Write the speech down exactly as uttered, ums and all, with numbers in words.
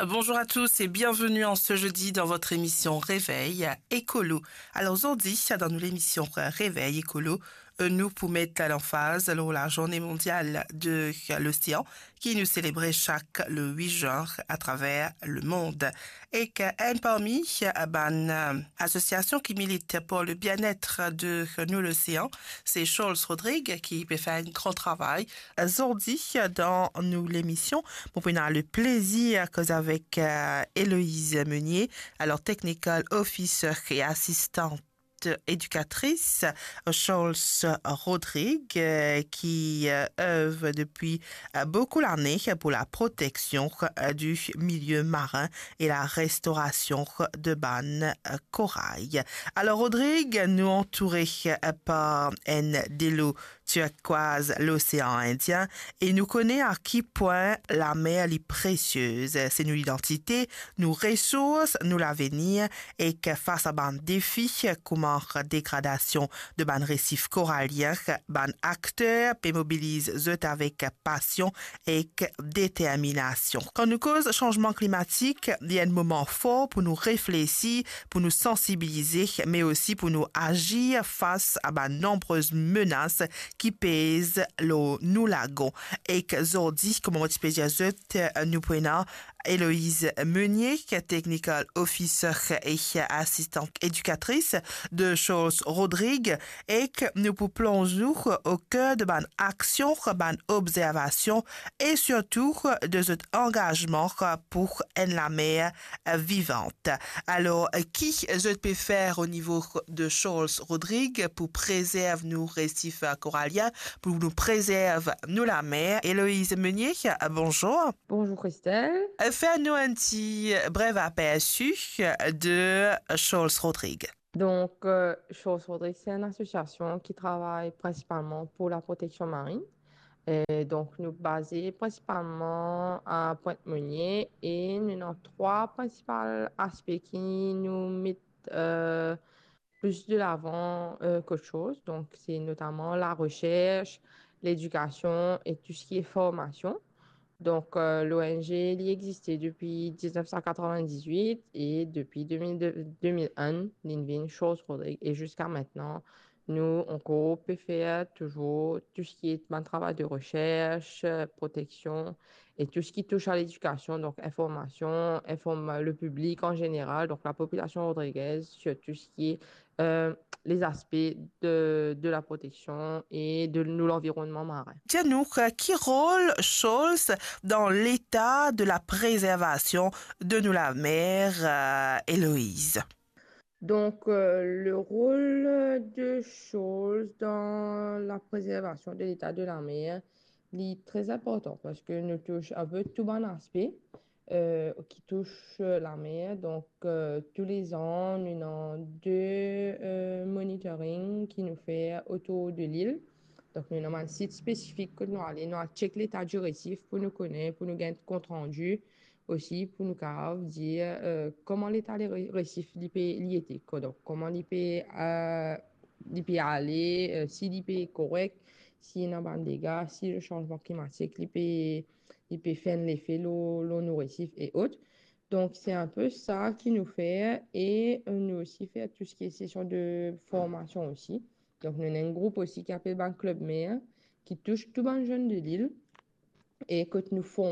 Bonjour à tous et bienvenue en ce jeudi dans votre émission Réveil Écolo. Alors, zordi, dan nou lemision Réveil Écolo, euh, nou pou met lanfaz lor la Journée mondiale de l'océan ki nou selebre chak le huit juin à travers le monde. Ek enn parmi, euh, bann, euh, asosiasion ki milit pour le bien-être de nou l'océan, se Charles Rodrigue ki pe fer enn gran travay. Zordi, dan nou lemision, mo pou ena le plezir koz avek, euh, Héloïse Meunier, alors technical officer et assistante éducatrice, Charles Rodrigue, euh, qui, euh, œuvre depuis, euh, beaucoup d'années pour la protection, euh, du milieu marin et la restauration de bann, euh, corail. Alors, Rodrigue, nou antoure, euh, par enn delo turquoise, l'océan Indien, e nou kone a ki pwin lamer li presiez. Se nou lidantite, nou resours, nou lavenir, ek fas a bann defi kouma degradasion de bann resif koralien, bann akter pe mobiliz zot avek pasion ek determinasion. Kan nou koz sanzman klimatik, li enn moman for pou nou reflesi, pou nou sansibilize, me osi pou nou azir fas a bann nonbrez menas ki pez lor nou lagon. Ek zordi, kouma mo ti pe dir zot, nou pou ena Héloïse Meunier, technical officer et assistante éducatrice de Charles Rodrigue, ek nou pou plonz nou au cœur de bann aksion, bann obzervasion e sirtou de zot angazman pour enn lamer vivant. Alors, ki zot pe fer o nivo de Charles Rodrigue pou prezerv nou resif koralien, pou nou prezerv nou lamer? Héloïse Meunier, bonjour. Bonjour Christelle. Euh, fer nou enn ti brev apersi de Charles Rodrigue. Donc, euh, Charles Rodrigue, c'est une association qui travaille principalement pour la protection marine. Et donc, nous basons principalement à Pointe-Meunier et nous avons trois principaux aspects qui nous mettent, euh, plus de l'avant, euh, qu'autre chose. Donc, c'est notamment la recherche, l'éducation et tout ce qui est formation. Donc, euh, l'O N G, li existe depuis dix-neuf cent quatre-vingt-dix-huit et depuis deux mille deux, deux mille un, li vinn Charles Rodrigue. Et jusqu'à maintenant, nous, on peut faire toujours tout ce qui est un travail de recherche, euh, protection et tout ce qui touche à l'éducation, donc information, informe le public en général, donc la population rodriguaise, sur tout ce qui est, euh, les aspects de, de la protection et de nou lanvironman marin. Dir nou, euh, ki rol Charles dan leta de la prezervasion de nou lamer, euh, Héloïse? Donc, euh, le rôle de Charles dans la préservation de l'état de la mer, li tre inportan parski nou tous enpe tou bann aspe, euh, ki tous, euh, lamer. Donc, euh, tou le an, nou ena de, euh, monitoring ki nou fer otour de lil. Donc, nou ena bann sit spesifik kot nou ale, nou al check leta di resif pou nou kone, pou nou gagn kontrandi osi, pou nou kapav dir, euh, kouma leta le re-, resif li pe, li ete, ko-, donk, kouma li pe, euh, li pe ale, euh, si li pe korek, si ena bann dega, si le sanzman klimatik li pe, li pe fer enn lefe lor, lor nou resif e ot. Donc, c'est un peu ça ki nou fer e, euh, nou osi fer tou seki sesion de formasion osi. Donc, nou ena enn group osi ki apel bann Club Mer, ki tous tou bann zenn de lil e kot nou form